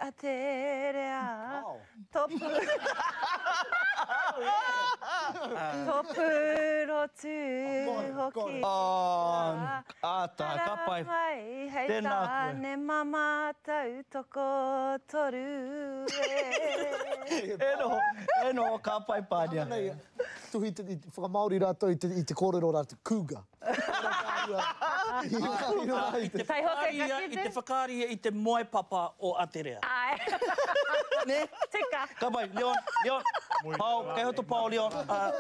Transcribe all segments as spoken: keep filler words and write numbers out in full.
Aterea. Topu. Topu rotu hoki. Āta, ka pai. Mai hei Tēnā koe. tāne mama tautoko toru e. E noho, e noho, ka pai Pānia. Tuhi te, i whakamāori rātou i te, i te kōrero rā, te cougar. I te whakaaria, i te whakaaria i te moepapa o Aterea. Ai. Ne? Tika. Ka pai, Leon, Leon. Pao, kei roto pao, Leon. Uh,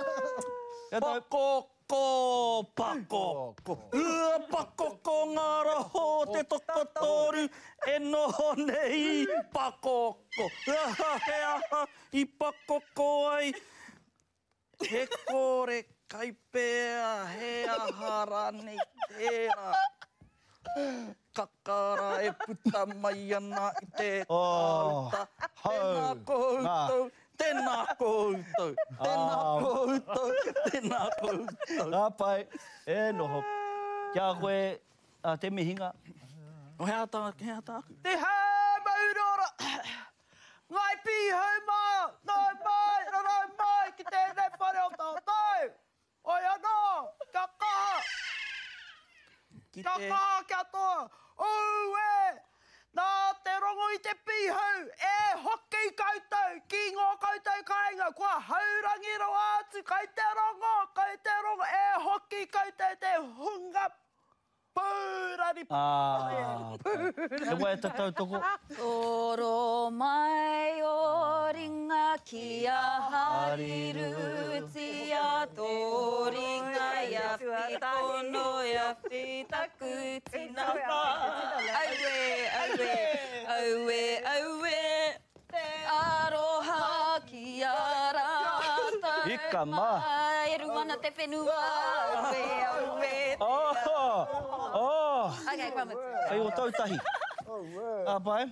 Pakoko, pakoko. Ua pakoko ngā raho te tokotoru e noho nei. Pakoko. Aha, he aha i pakoko ai. He kore kai pea, he aha rānei tērā. Kakara e puta mai ana i te kāuta. Tēnā koutou, tēnā koutou, tēnā koutou, tēnā koutou. Ka pai, e noho. Kia koe, a, te mihinga. O he aha tā, he aha tāku? Te hau maurora! Ngai pīhau mā, nau mai, rarau mai ki tēnei whare o tātou! Oi anō, kia kaha! Ki Kia te... kaha, kia toa! Ue! Nā te rongo i te pīhau, e hoki koutou ki ngō koutou kāinga, kua haurangi rawa atu, kai te rongo, kai te rongo, e hoki koutou te hunga pūrari. Ah, te waiata tautoko. Toro mai o ringa ki a harirutia, tō ringa ia whitono ia whitaku tinana. Aue, aue, aue, aue, te aroha ki a rātou. Ika mā. E runga ana te whenua, aue, aue, te Oh, oh. Okay, kua mutu. Kei o tautahi. Ka pai.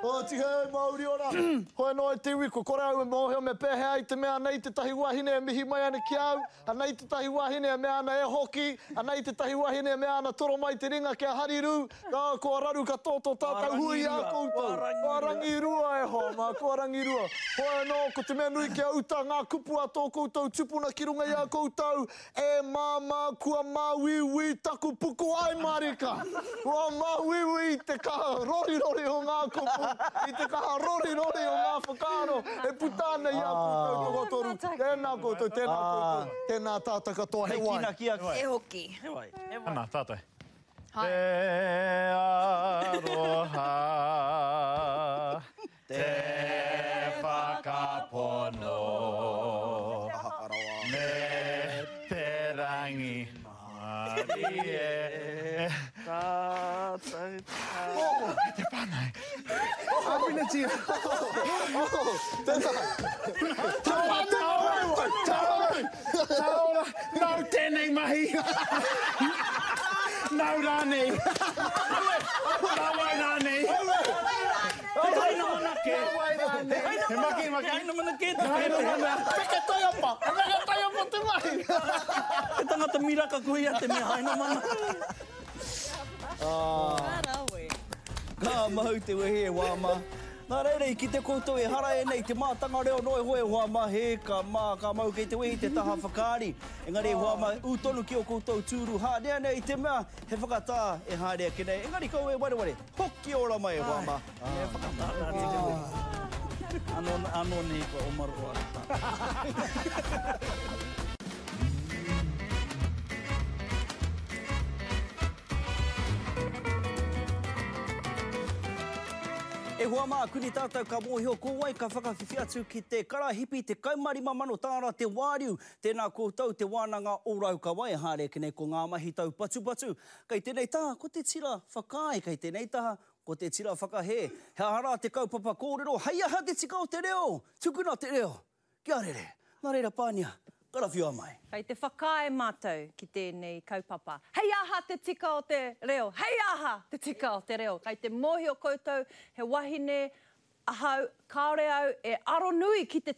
O tihei mauri ora. Hoi anō e te iwi, kua kore au e mōhio me pēhea i te mea anei tētahi wahine e mihi mai ana ki au, anei tētahi wahine e mea ana e hoki, anei tētahi wahine e mea ana toro mai te ringa kia harirū, ka kua raru ka tō tō tātou hui i a koutou. Kua rangirua e hoa mā, kua rangirua. Hoi anō, ko te mea nui kia uta ngā kupu a tō koutou tupuna ki runga i a koutou, e māmā kua māuiui taku puku ai marika. Kua māuiui te kaha rorirori o ngā kupu, i te kaha rorirori o ngā whakaaro, e puta ana i a koutou tokotoru. Tēnā koutou, tēnā koutou, tēnā tātou katoa, he Hei wai. kina ki a koe. E hoki. He wai, he wai. Ana, tātou. Hai. Te aroha, te whakapono, me te rangi marie. Tātou, Te whānau. Āwhinatia. Tēnā. Taora, taora, taora, nau tēnei mahi. Nau rānei. Nau wai rānei. He haina mana kē. He maki, maki. He haina mana kē te Haina mana. Peke taiapa, peke taiapa te mahi. He tangata miraka koe ia te mea haina mana. Ka mau te wehi e wā mā. Nā reira, i kite koutou e hara e nei te mātanga reo noe hoe hoa mā, he ka mā, ka mau kei te wehi te taha whakaari. Engari e hoa mā, ū tonu ki o koutou tūru hānea nei i te mea, he whakatā e haere ake nei. Engari kau e wareware, hoki ora mai e hoa mā. He whakatā nā te wehi. Anō, anō nei kua omaro o arata. E hoa mā, kuni tātou ka mōhio ko wai ka whakawhiwhi atu ki te karahipi te kaumarima mano tāra te wāriu. Tēnā koutou te wānanga o Raukawa e haere ake nei ko ngā mahi taupatupatu. Kei tēnei taha, ko te tira whakaae, kei tēnei taha, ko te tira whakahē. He aha rā te kaupapa kōrero, hei aha te tika o te reo, tukuna te reo, kia rere. Nā reira Pānia, karawhiua mai. Kei te whakaae mātou ki tēnei kaupapa. Hei aha te tika o te reo, hei aha te tika o te reo. Kei te mōhio koutou, he wahine ahau, kāore au e aronui ki te